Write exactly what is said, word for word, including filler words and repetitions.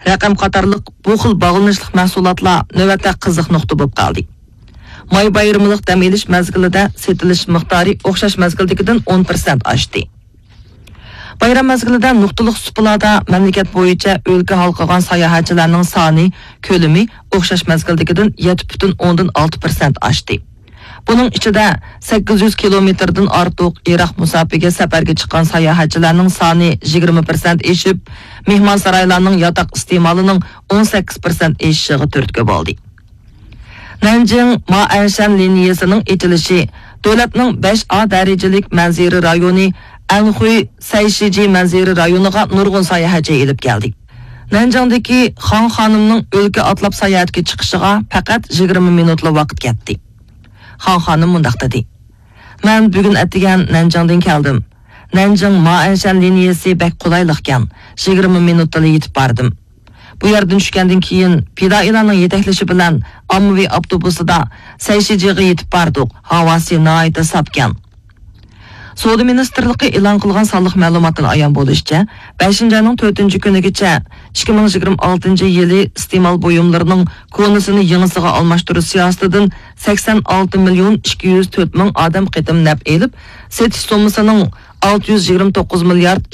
رەقەم قاتارلىق بۇ خىل باغلىنىشلىق مەھسۇلاتلار نۆۋەتتە قىزىق نۇقتا بولۇپ قالدى. ماي بايرىملىق دەم ئېلىش مەزگىلىدە سېتىلىش مىقدارى ئوخشاش مەزگىلدىكىدىن ئون پىرسەنت ئاشتى. بايرام مەزگىلىدە نۇقتىلىق سۇپىلاردا مەملىكەت بويىچە ئۆلكە ھالقىغان ساياھەتچىلەرنىڭ سانى، كۆلىمى ئوخشاش مەزگىلدىكىدىن يەتتە پۈتۈن ئوندىن ئالتە پىرسەنت ئاشتى. بۇنىڭ ئىچىدە سەككىز يۈز كىلومېتىردىن ئارتۇق يىراق مۇساپىگە سەپەرگە چىققان ساياھەتچىلەرنىڭ سانى يىگىرمە پىرسەنت ئېشىپ، مېھمانسارايلارنىڭ ياتاق ئىستېمالىنىڭ ئون سەككىز پىرسەنت ئېشىشىغا تۈرتكە بولدى. نەنجىڭ مائەنشەن لىنىيەسىنىڭ ئېچىلىشى دۆلەتنىڭ بەش ئا دەرىجىلىك مەنزىرە رايونى ئەنخۇي سەيشىجى مەنزىرە رايونىغا نۇرغۇن ساياھەتچى ئېلىپ كەلدى. نەنجىڭدىكى خاڭ خانىمنىڭ ئۆلكە ئاتلاپ ساياھەتكە چىقىشىغا پەقەت يىگىرمە مىنۇتلا ۋاقىت كەتتى. خاڭ خانىم مۇنداق دېدى: مەن بۈگۈن ئەتىگەن نەنجىڭدىن كەلدىم. نەنجىڭ مائەنشەن لىنىيەسى بەك قولايلىقكەن، يىگىرمە مىنۇتتىلا يېتىپ باردىم. بۇ يەردىن چۈشكەندىن كېيىن پىدائىيلارنىڭ يېتەكلىشى بىلەن ئاممىۋى ئاپتوبۇسىدا سەيشىجىغا يېتىپ باردۇق. ھاۋاسى ناھايىتى ساپكەن. سودا مىنىستىرلىقى ئېلان قىلغان سانلىق مەلۇماتتىن ئايان بولۇشىچە، بەشىنچى ئاينىڭ تۆتىنچى كۈنىگىچە ئىككى مىڭ يىگىرمە ئالتىنچى يىلى ئىستېمال بۇيۇملىرىنىڭ كونىسىنى يېڭىسىغا ئالماشتۇرۇش سىياسىتىدىن سەكسەن ئالتە مىليون ئىككى يۈز تۆت مىڭ ئادەم قېتىم نەپ ئېلىپ، سېتىش سوممىسىنىڭ ئالتە يۈز يىگىرمە توققۇز مىليارد